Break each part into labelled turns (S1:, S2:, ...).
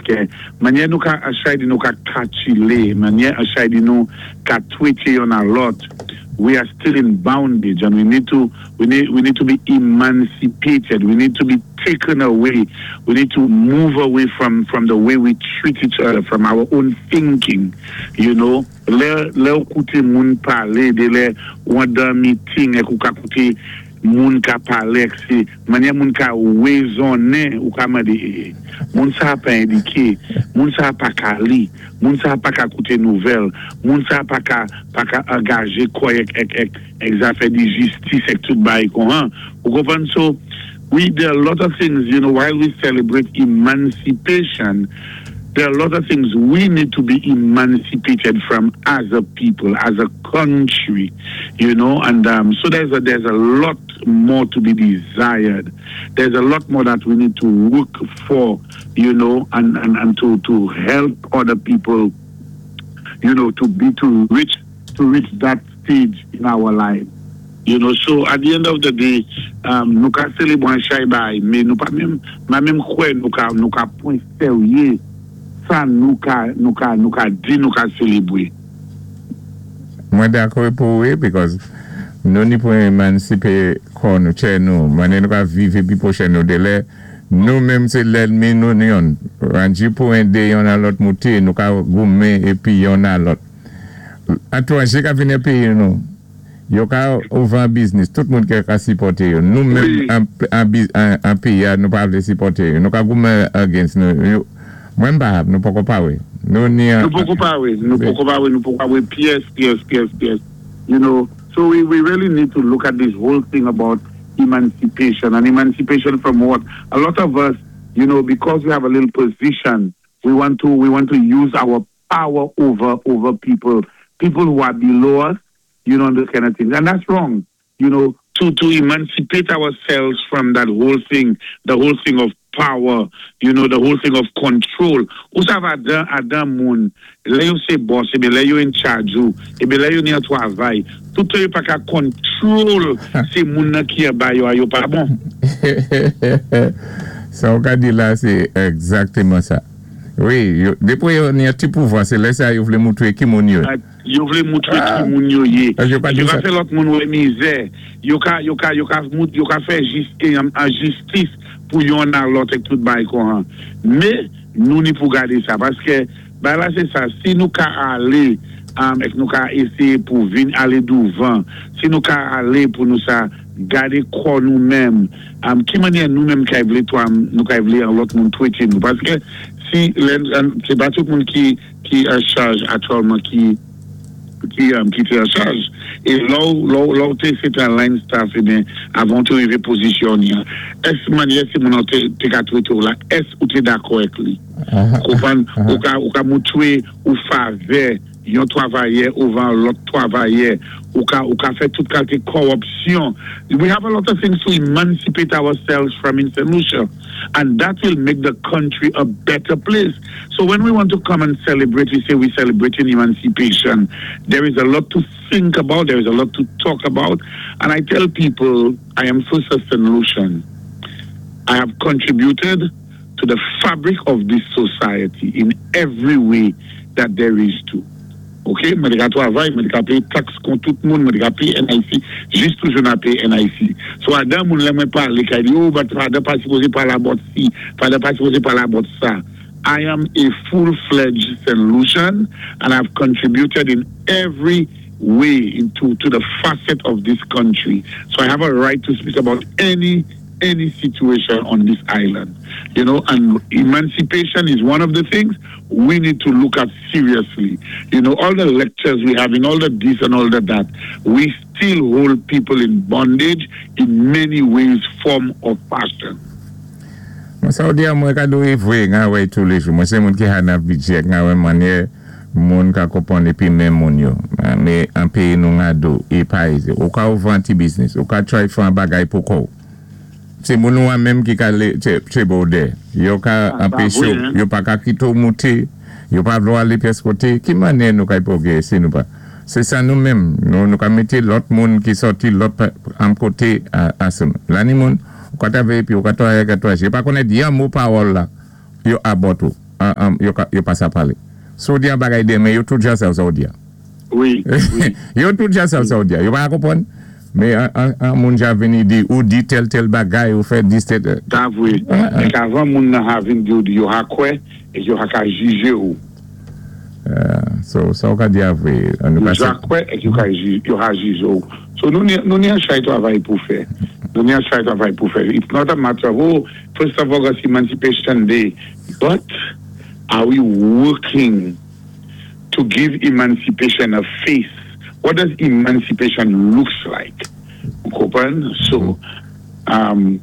S1: Paskè mannyè nou ka an chay di nou ka katilé, mannyè an chay di nou ka twété yonn a lòt, we are still in bondage and we need to be emancipated. We need to be taken away. We need to move away from the way we treat each other, from our own thinking. Lè ou kouté moun palé, dé lè ou an dan meeting èk ou ka kouté moun ka palé èk sé mannyè moun ka wézonnen, ou ka mandé, "Moun sa pa édiké, moun sa pa ka li, moun sa pa ka kouté nouvèl, moun sa pa ka angajé kò'y èk zafè di jistis èk tout bay kon an." Ou konpwann? So, there are a lot of things, while we celebrate emancipation, there are a lot of things we need to be emancipated from as a people, as a country, and so there's a lot more to be desired. There's a lot more that we need to work for, and to help other people, to reach that stage in our life. So at the end of the day, nou ka sélébwé an chay bay, mé nou pa menm, ma menm kwè nou ka pwan séryé sa nou ka di nou ka sélébwé.
S2: Mwen dakò pou wé, because nou ni pou emansipé kò nou, tchè nou, mannyè nou ka viv épi pwochè nou dé lè, nou menm sé lènmi nou yonn, ranji pou édé yonn a lòt mouté, nou ka goumen épi yonn a lòt. Étwanjé ka vini péyi nou, yo ka ouvan biznis, tout moun ki ka sipòté yo. Nou menm an péyi a, nou pa vlé sipòté yo. Nou ka goumen against nou. Mwen pa, nou poko pa wé. Nou ni
S1: Nou poko pa wé, nou poko pa wé, nou poko pa wé pyès, pyès, pyès, pyès. So we really need to look at this whole thing about emancipation. And emancipation from what? A lot of us, because we have a little position, we want to use our power over people, people who are below us, those kind of things. And that's wrong. To emancipate ourselves from that whole thing, the whole thing of power, the whole thing of control. Ou sav adan moun, lè yo sé boss, ébé lè yo in charge ou, ébé lè yo ni an twavay, tout yo pa ka control sé moun nan ki anba yo a, yo pa bon.
S2: Sa ou ka di la, sé egzaktéman sa. Wi, dépwi yo ni an ti pouvwa, sé lè sa yo vlé moutré ki moun yo.
S1: Yo vlé moutré ki moun yo yé.
S2: Yo
S1: ka fè lòt moun wè mizè. Yo ka fè enjistis pou yon a lòt èk tout bay kon an. Mé, nou ni pou gadé sa. Paskè, bay la sé sa, si nou ka alé, èk nou ka éséyé pou vin alé douvan, si nou ka alé pou nou sa gadé kò nou menm, ki mannyè nou menm kay vlé to, nou kay vlé an lòt moun twété nou. Paskè, si, sé pa tout moun ki an chaj aktyèlman ki té an chaj. É lò ou té sé an line staff, ébyen, avan té rivé pozisyon ni, ès mannyè sé moun an té ka twété ou la, ès ou té dakò èk li? Konpwann, ou ka moutré ou favè yon twavayè ouvan lòt twavayè, ou ka fè tout kalité kòwipsyon. We have a lot of things to emancipate ourselves from in St. Lucia, and that will make the country a better place. So when we want to come and celebrate, we say we're celebrating emancipation. There is a lot to think about, there is a lot to talk about, and I tell people I am first a St. Lucian. I have contributed to the fabric of this society in every way that there is to. Ok, mwen té ka twavay, mwen té ka péyé tax kon tout moun, mwen té ka péyé NIC, jis toujou nan péyé NIC. So adan moun lè mwen palé, kay di, "Oh, but fadan pa sipozé pale about si, fadan pa sipozé pale about sa." I am a full-fledged St. Lucian and I've contributed in every way into to the facet of this country. So I have a right to speak about any situation on this island. And emancipation is one of the things we need to look at seriously. All the lectures we have in all the this and all the that, we still hold people in bondage in many ways, form or fashion.
S2: Mwen sa ou di a mwen ka do e vwe nga wè tou le jou. Mwen se moun ki ha nan bidjek nga wè manye moun ka kopon epi men moun yo. Me an peyi nou nga do e pa eze. Ou ka ouvan ti biznis, ou ka try fè an bagay pou kou. Se moun nou an menm ki ka le che bode. Yo ka anpeche yo, yo pa ka kito moute, yo pa vlo ale pyès koté. Ki mannyè nou kay pwogré si nou pa? Se sa nou menm, nou ka mété lòt moun ki sòti lòt an koté a. La ni moun, ou ka tave epi ou ka toye ka toye. Yo pa konnèt yon mo pawòl la, yo abòt ou. Yo pa sa palé. Si ou di an bagay denmen, yo tout jan sav sa ou di an.
S1: Wi, wi.
S2: Yo tout jan sav sa ou di an. Yo pa konpwann. Men an moun ja vini di, ou di tèl tèl bagay, ou fè dis tèl.
S1: Sa vwé. Èk avan moun nan ha vin di ou di, yo ha kwè, èk yo ha ka jijé ou.
S2: So, sa ou ka di a vwé.
S1: Yo ja kwè, èk yo ka yo ha jijé ou. So, nou ni, nou ni an chay twavay pou fè. Nou ni an chay twavay pou fè. It's not a matter of, oh, first of August, Emancipation Day. But, are we working to give emancipation a face? What does emancipation looks like? Ou konprann? So, um,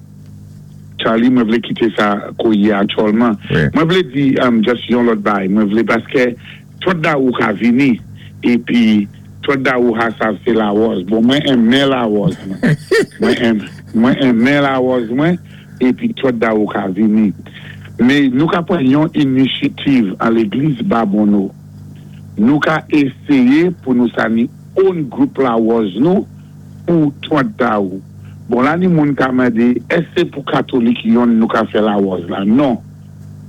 S1: Charlie, mwen vlé kité sa kouyé a aktyèlman. Mwen vlé di um, just yon lòt bay. Mwen vlé paskè 30 dawou ka vini épi 30 dawou ha sav sé lawòz. Bon, mwen enmen lawòz mwen. Mwen enm, mwen enmen lawòz mwen épi 30 dawou ka vini. Men nou ka pran yon inishitiv an légliz Babonneau. Nou ka éséyé pou nou sa ni own gwoup lawòz nou pou 30 dawou. Bon la ni moun ka mandé èske sé pou katolik yonn nou ka fè lawòz la? Non.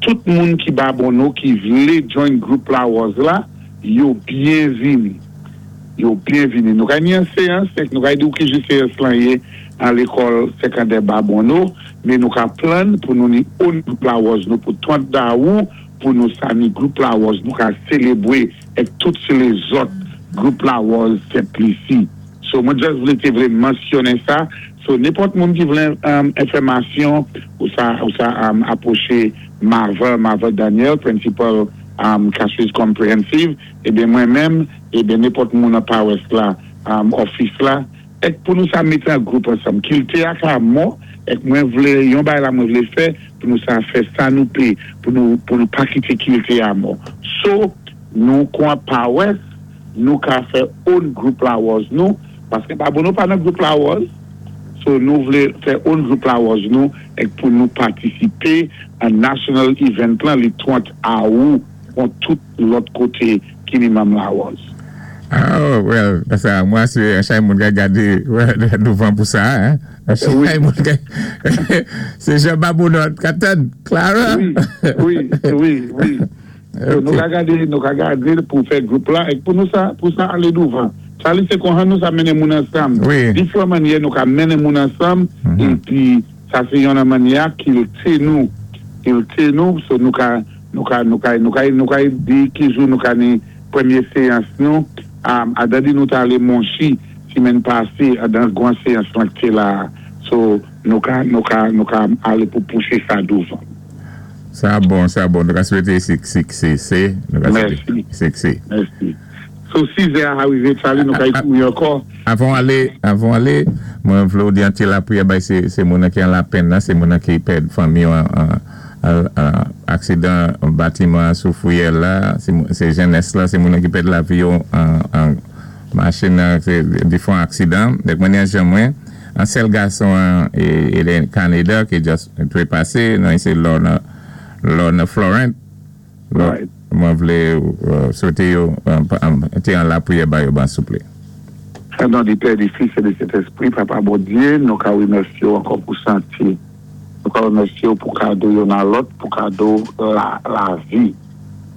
S1: Tout moun ki Babonneau ki vlé join gwoup lawòz la, yo byenvini. Yo byenvini. Nou ka ni an séyans, èk nou ka di ou ki jou séyans lan yé an lékòl sekandè Babonneau, men nou ka plan pou nou ni own gwoup lawòz nou pou 30 dawou pou nou sa ni gwoup lawòz nou ka sélébwé èk tout sé lézòt gwoup lawòz Sent Lisi. So mwen just vlé té vlé mansyonnen sa. So nenpòt moun ki vlé enfèmasyon ou sa ou sa apwoché Marva, Marva Daniel, principal Castries Comprehensive, ebyen mwen menm, ebyen nenpòt moun an pawès la, office la, èk pou nou sa mété an gwoup ansanm. Kilti a ka mò, èk mwen vlé yon bagay la mwen vlé fè pou nou sa fè sa nou pé pou nou pou nou pa kité kilti a mò. So nou kon pawès nou ka fè own gwoup lawòz nou paske Babonneau pa nan gwoup lawòz so nou vle fè own gwoup lawòz nou èk pou nou patisipé an national event lan li 30 awou kon tout lòt koté ki ni manm lawòz.
S2: Oh well sa mwen asiré an chay moun ka gadé douvan pou sa hein an chay moun ka se jan Babonneau ka tann Clara
S1: Wi wi wi wi. So nou ka gade, nou ka gade pou fè gwoup la èk pou nou sa, pou sa alé douvan. Charly sé konhan nou sa mennen moun ansanm. Difran mannyè nou ka mennen moun ansanm épi sa sé yon nan mannyè a kilti nou, kilti nou so nou ka, nou ka, nou ka, nou ka, nou ka di ki jou nou ka ni premyé séyans nou. Adan di nou ta alé Monchi simenn pasé adan gwan séyans lan k té la a. So nou ka, nou ka, nou ka alé pou pousé sa douvan.
S2: Sa bon, sa bon. Nou ka swete siksé. Nou ka swete siksé.
S1: Mèsi. So 6 zè a rive Charly nou ka kouri ankò.
S2: Avan w ale, avan w ale, mwen vle w di an ti lapriyè bay se se moun nan ki an lapenn nan, se moun nan ki pèd fanmi yo an aksidan batiman an sou Fouyè la, se jenès la, se moun nan ki pèd lavi yo an machin nan se difran aksidan. Dèk mwen ni an jan mwen. An sèl gason an e le Canada ki just trepase nan se Lorna Lorna Florent mwen vle swete yo te an lapriyè ba yo ban souple.
S1: O non di Pè, di Fis e di Sentespri, Papa Bondye, nou ka remèsye w ankò pou sante. Nou ka remèsye w pou kado youn a lòt, pou kado lavi.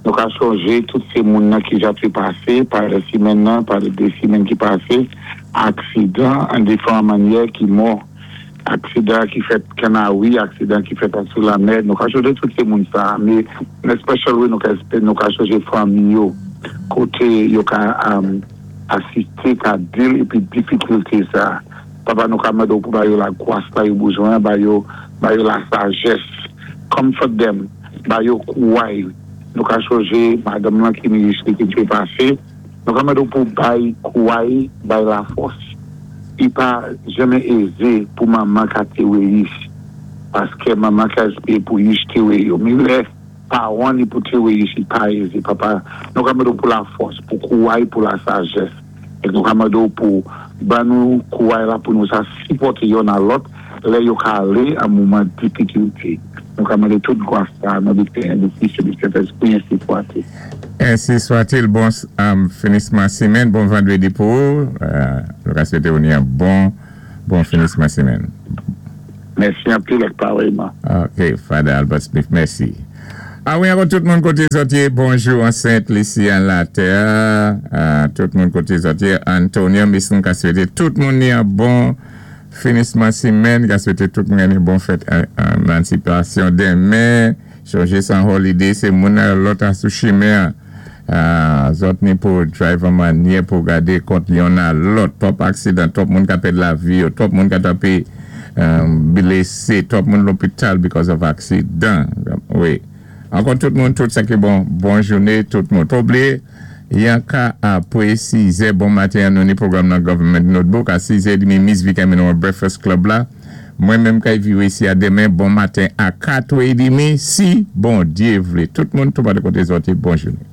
S1: Nou ka sonje tout se moun nan ki ja te pase pa de simenn nan, pa de 2 simenn ki pase, aksidan an diferan mannyè ki mò, aksidan ki fèt Kannawi, aksidan ki fèt an sou lamè, nou ka sonje tout se moun sa a, me in a special way nou ka nou ka sonje fanmi yo, kote yo ka asiste, ka deal epi difikilte sa a. Papa nou ka mande w pou ba yo lagwas la yo bezwen an, ba yo ba yo lasajès, comfort them. Ba yo kouray. Nou ka sonje madanm lan ki minis li ki te pase. Nou ka mande w pou bay kouray, bay lafòs. Li pa janmen eze pou manman ka tewe yich. Paske manman ka espere pou yich tewe yo. Men lè paran li pou tewe yich li pa eze. Papa, nou ka mande w pou lafòs, pou kouray, pou lasajès. E nou ka mande w pou ban nou kouray la pou nou sa sipòte yonn a lòt lè yo ka ale an moman difikilte. Nou ka mande tout gwas sa a nan di Pè, di Fis e di Sentespri, ensi swatil.
S2: Ensi swatil. Bon finisman simenn, bon vandredi pou ou. Nou ka swete ou ni yon bon bon finisman simenn.
S1: Mèsi anpil ak parèyman.
S2: Ok, Father Albert Smith, mèsi. A wi, ankò tout moun koté zòt yé, bonjou an Sent Lisi an latè, tout moun koté zòt yé, Antonio Misn ka swété tout moun ni an bon finisman simèn, ka swété tout moun ni bon fèt emansipasyon denmen, chonjé san holiday sé moun nan lòt a sou chimen an, zòt ni pou drive an manyè pou gadé kont yonn a lòt, twòp aksidan, twòp moun ka pèd lavi yo, twòp moun ka tanpé blésé, twòp moun lopital because of aksidan, wi. Ankò tout moun tout sa ki bon, bon jouné tout moun. Pa bliye, yan ka apwé 6 zè bon maten an nou ni pwogram nan Government Notebook a 6 zè edmi Miss Vicky mennen w Breakfast Club la. Mwen menm kay viw isi a demen bon maten a 4 è edmi si Bondyé vlé. Tout moun tou pale koté zòt yé bon jouné.